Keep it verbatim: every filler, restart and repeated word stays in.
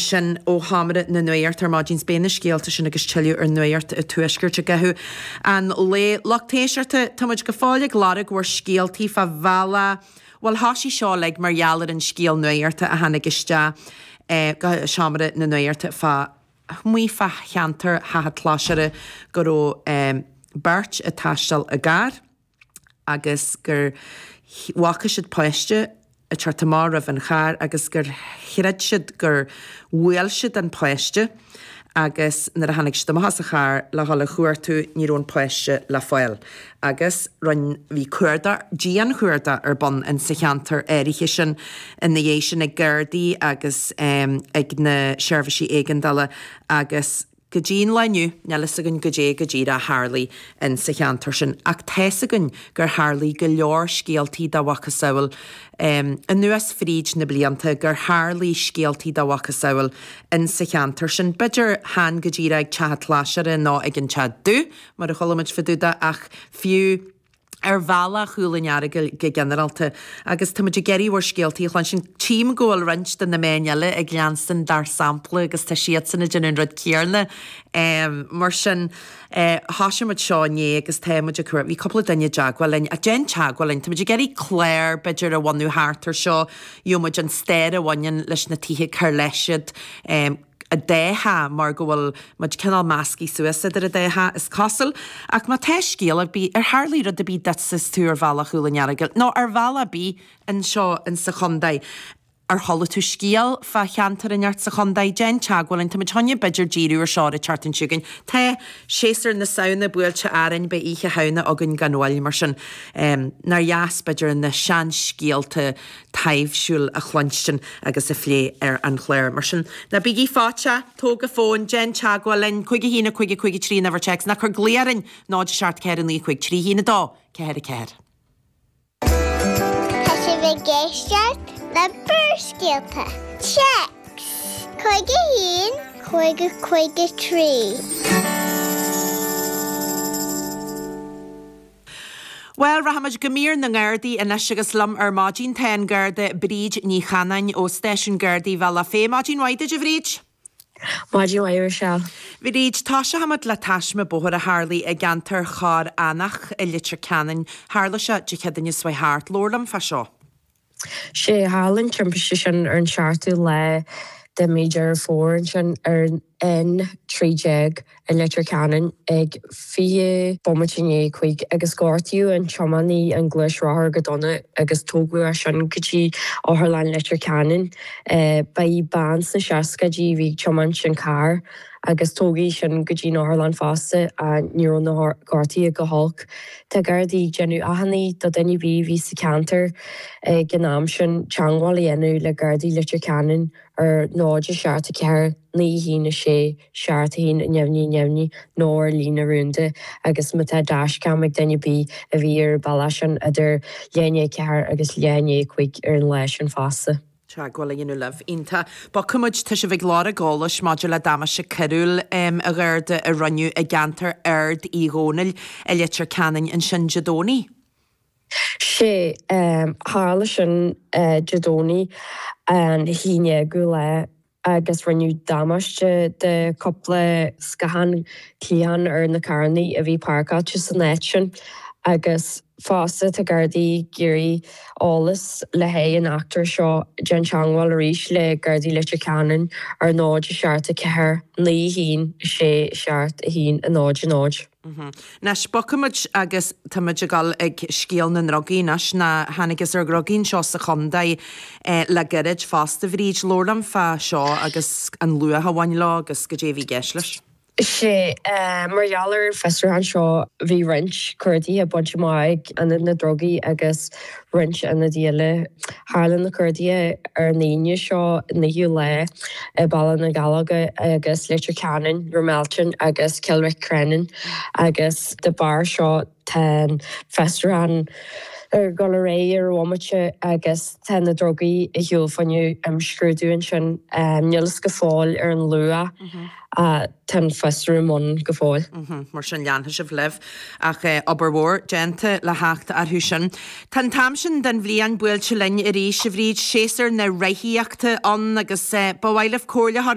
ansin ó Sheomra na Nuachta ar maidin. Beidh na scéalta sin agus tuilleadh ar Nuacht an Tuaiscirt i gcaitheamh an lae. Lucht éisteachta, tá muid go fóill ag lorg bhur scéaltaí fá bhealach, bhuel thoisigh seo uilig mar gheall ar an scéal nuachta a tháinig isteach go Seomra na Nuachta fá amuigh fá cheantar Theach an tSlasaire go raibh beirt ag taisteal i gcarr agus gur bhfaca siad páiste ag teacht amach roimh an charr agus gur chreid siad gur bhuail siad an páiste agus nuair a tháinig siad amach as an charr le dhul a chuartú ní raibh an páiste le fáil agus rinn bhí cuardach dianchuardach ar bun in sa cheantar áirithe sin ina dhiaidh sin ag Gardaí agus ag na seirbhísí éigeandála agus Go dtí an lá inniu, níl fhios againn goidé go díreach a tharlaigh in sa cheantar sin, ach tá's againn gur tharlaigh go leor scéaltaí dá mhacasamhail anuas fríd na blianta, gur tharlaigh scéaltaí dá mhacasamhail in sa cheantar sin. B'fhéidir chan go díreach ag Teach an tSlasaire nó ag an Teach Dubh, mar a chuala muid fá dtaobh de, ach fiú ar bhealach Chúil an Earagail go ginearálta agus tá muid ag iarraidh bhur scéaltaí a chluinstin. Tchím go bhfuil roinnt de na meáin eile ag leanstan dár sampla agus tá siadsan ag déanamh an rud céarna. Mar sin, thoisigh muid seo inné agus tá muid ag cur, bhí cúpla duine i dteagmháil linn, ach déan teagmháil linn, tá muid ag iarraidh clár b'fhéidir a bhunú thart ar seo, gheobhaidh muid an stair a bhaineann leis na tithe cár leis iad, an dá theach mar go bhfuil muid cineál meascaí suas idir an dá theach, is cosúil. Ach má tá scéal ar bith, ar tharlaigh rud ar bith duitse is tú ar bhealach Chúil an Earagail, nó ar bhealach ar bith anseo insa chontae, ar chuala tú scéal fá cheantar inteacht sa chontae, déan teagmháil linn. Tá muid chun b'fhéidir díriú ar seo ar an tseachtain seo chugainn. Tá séasúr na Samhna buailte orainn, beidh Oíche Shamhna againn gan mhoill, mar sin nár dheas b'fhéidir na seanscéalta taibhsiúil a chluinstin agus a phlé ar an chlár. Mar sin, ná bígí fáite, tóg an fón, déan teagmháil linn, cúig a haon a cúig a cúig a trí an uimhir téacs, ná cuir glao orainn, náid a seacht ceathair a naoi cúig trí haon a dó, ceathair a ceathair. Tá sibh ag éisteacht le Barrscéalta, Téacs, cúig a haon, cúig a cúig a trí. Bhuel, rachaimid go mír na nGardaí anois agus liom ar maidin tá an Garda Bríd Ní Chanáin ó Stáisiún Gardaí Bhealach Féich. Maidin mhaith duit, a Bhríd. Maidin mhaith, a Roiséal. Bhríd, toiseochaimid le taisme bóthair a tharlaigh i gceantar Chorr Eanach i Leitir Ceanainn. Tharla sé Dé Céadaoine seo chuaigh thart. Labhair liom fá seo. Sé, tharla an timpiste sin ar an seachtú lá de mí Deireadh Fómhair ansin ar an N trí déag i Leitir Ceanainn ag fiche bomaite i ndiaidh a cúig agus gortaíodh an tiománaí an gluaisrothar go dona agus tógadh é sin go dtí Otharlann Leitir Ceanainn. Ba í bean sna seascaidí a bhí ag tiomáint an carr agus tógadh í sin go dtí an otharlann fosta ach ní raibh na gortuithe go holc. Tá Gardaí ag déanamh achainí do dhuine ar bith a bhí sa cheantar ag an am sin teagmháil a dhéanamh le Gardaí Leitir Ceanainn ar náid a seacht a ceathair naoi a haon a sé seacht a haon neamhní neamhní nó ar líne rúnda agus má tá dashcam ag duine ar bith a bhí ar an bealach sin idir leath i ndiaidh a ceathair agus leath i ndiaidh a cúig ar an lá sin fosta. Teagmháil a dhéanamh libh. Iontach. Bogfaidh muid, tá sibh ag lorg eolais maidir le damáiste coiriúil a Gharda a rinneadh i gceantar Ard Uí Dhónaill i Leitir Ceanainn ansin Dé Domhnaigh. Sé, tharla sin Dé Domhnaigh an haon déagú lá agus rinneadh damáiste de chúpla scáthán cliathán ar na carrannaí a bhí páirceáilte san áit sin agus fosta tá Gardaí ag iarraidh eolas le haghaidh an eachtra seo déan teagmháil arís le Gardaí Leitir Ceanainn ar náid a seacht a ceathair naoi a haon a sé a seacht a haon a náid a náid. Anois, bogfaimid agus tá muid ag dul ag scéal na ndrugaí anois, nó thángthas ar dhrugaí anseo sa chontae le gairid fosta. A Bhríd, labhair liom fá seo agus an luach a bhain leo agus goidé a bhí i gceist leis. Sé, mar gheall ar an bhfiosrúchán seo bhí roinnt cuardaithe bainte amach ag Ionad na Drugaí agus roinnt ionadaí eile. Tharla na cuardaithe ar an Aoine seo, naoú lá, i Baile na nGallógach agus Leitir Ceanainn, Ramelton agus Cill Mhic Crennan agus de bharr seo tá an fiosrúchán ag dul ar aghaidh ar an bhomaite agus tá na drugaí ar shiúl fá choinne imscrúdú ansin. Níl fhios go fóill ar an luach. Tá an fiosrú i mbun go fóill. Mar sin leanfaidh sibh libh. Ach obair mhór déanta le theacht orthu sin. Tá an t-am sin den bhliain buailte linn arís, a Bhríd, séasúr na reathaíochta ann agus ba mhaith libh comhairle a chur